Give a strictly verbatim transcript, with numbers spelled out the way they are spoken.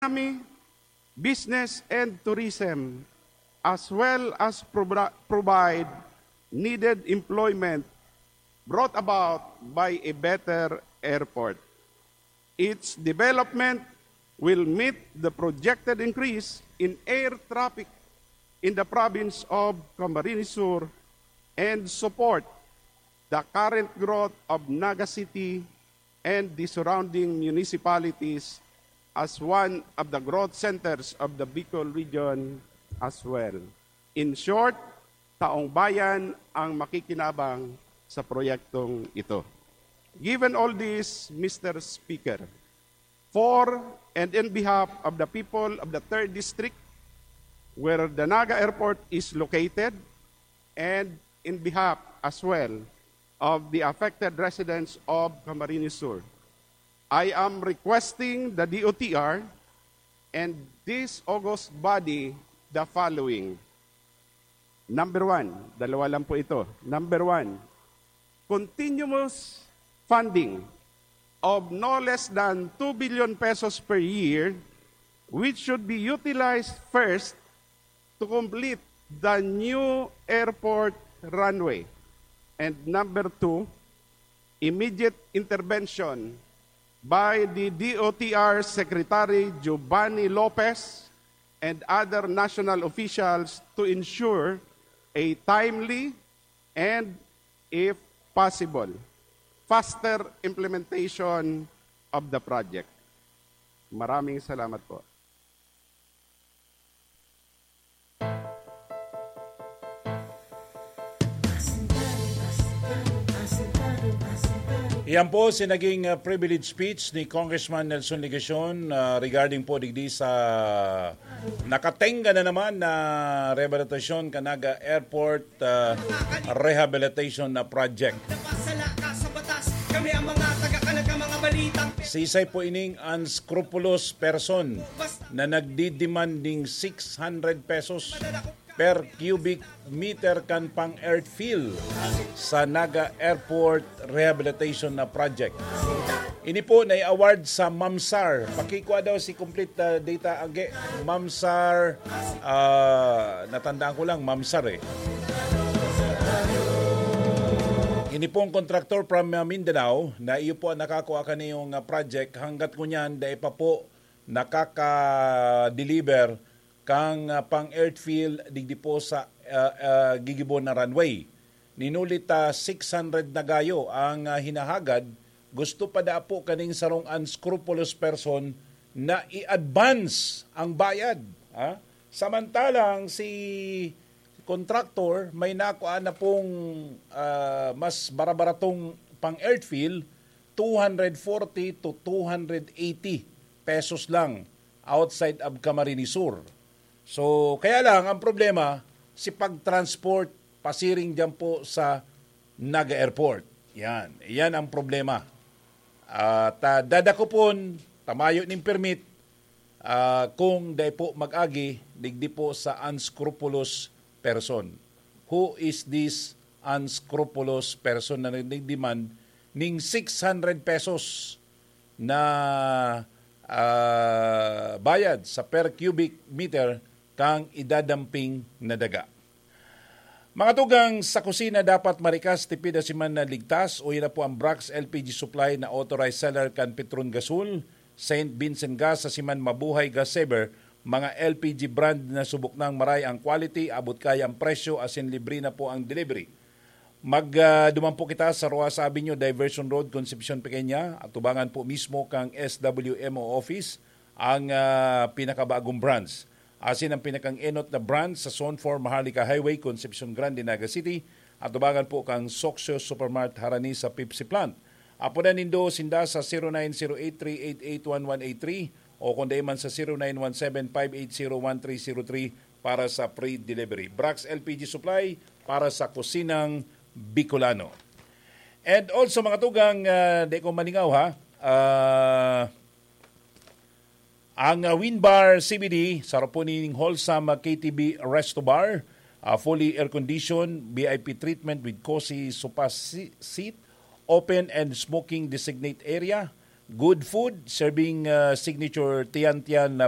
economy, business, and tourism, as well as provi-, provide needed employment brought about by a better airport. Its development will meet the projected increase in air traffic in the province of Camarines Sur and support the current growth of Naga City and the surrounding municipalities as one of the growth centers of the Bicol region as well. In short, taong bayan ang makikinabang sa proyektong ito. Given all this, Mister Speaker, for and in behalf of the people of the third District, where the Naga Airport is located, and in behalf as well of the affected residents of Camarines Sur, I am requesting the D O T R and this august body the following. Number one, dalawa lang po ito. Number one, continuous funding of no less than two billion pesos per year, which should be utilized first to complete the new airport runway. And number two, immediate intervention by the D O T R Secretary Giovanni Lopez and other national officials to ensure a timely and, if possible, faster implementation of the project. Maraming salamat po. Iyan po si naging uh, privilege speech ni Congressman Nelson Legacion uh, regarding po digdi sa nakatenga na naman na rehabilitasyon kan Naga Airport uh, rehabilitation na project. Sisay po ining unscrupulous person na nagdidemand ning six hundred pesos per cubic meter kan pang-earthfill sa Naga Airport Rehabilitation na project. Ini po na-award sa MAMSAR. Pakikua daw si complete uh, data age. MAMSAR, uh, natandaan ko lang, MAMSAR eh. Ini pong contractor from uh, Mindanao na iyo po ang nakakua kaniyong uh, project hanggat ngunyan dai pa po nakaka-deliver kan uh, pang-earthfill digdi po sa uh, uh, gigibon na runway. Ninuli ta six hundred na gayo ang uh, hinahagad, gusto pa da po kaning sarong unscrupulous person na i-advance ang bayad. Ha? Samantalang si contractor may nakuha na pong uh, mas barabaratong pang-earthfill, two hundred forty to two hundred eighty pesos lang outside of Camarines Sur. So, kaya lang, ang problema, si pag-transport pasiring dyan po sa Naga Airport. Yan. Yan ang problema. At uh, dadakopon, tamayo ning permit uh, kung dai po mag-agi, digdi po sa unscrupulous person. Who is this unscrupulous person na nagdemand ning six hundred pesos na uh, bayad sa per cubic meter kang idadamping na daga. Mga tugang sa kusina dapat marikas, tipid asin man na ligtas, uya na po ang Brax L P G Supply na authorized seller kan Petron Gasol, Saint Vincent Gas asin man Mabuhay Gas Saver, mga L P G brand na subok nang maray ang quality, abot kaya ang presyo asin libre na po ang delivery. Magduman po kita sa Rojas Avenue, Diversion Road, Concepcion Pequeña, atubangan po mismo kang S W M O office, ang uh, pinakabagong branch. Asin ang pinakang-enot na branch sa Zone four Maharlika Highway, Concepcion Grande, Naga City, atubangan po kang Soxio Supermart harani sa Pepsi Plant. Apodan nindo sinda sa zero nine zero eight three eight eight one one eight three o kung dai man sa zero nine one seven five eight zero one three zero three para sa free delivery. Brax L P G Supply para sa kusinang Bicolano. And also, mga tugang, uh, di ko maningaw ha, uh, ang uh, Winbar C B D, saro po ning wholesome uh, K T V Resto Bar, uh, fully air-conditioned, V I P treatment with cozy sofa si- seat, open and smoking designate area, good food, serving uh, signature Tiyan Tiyan na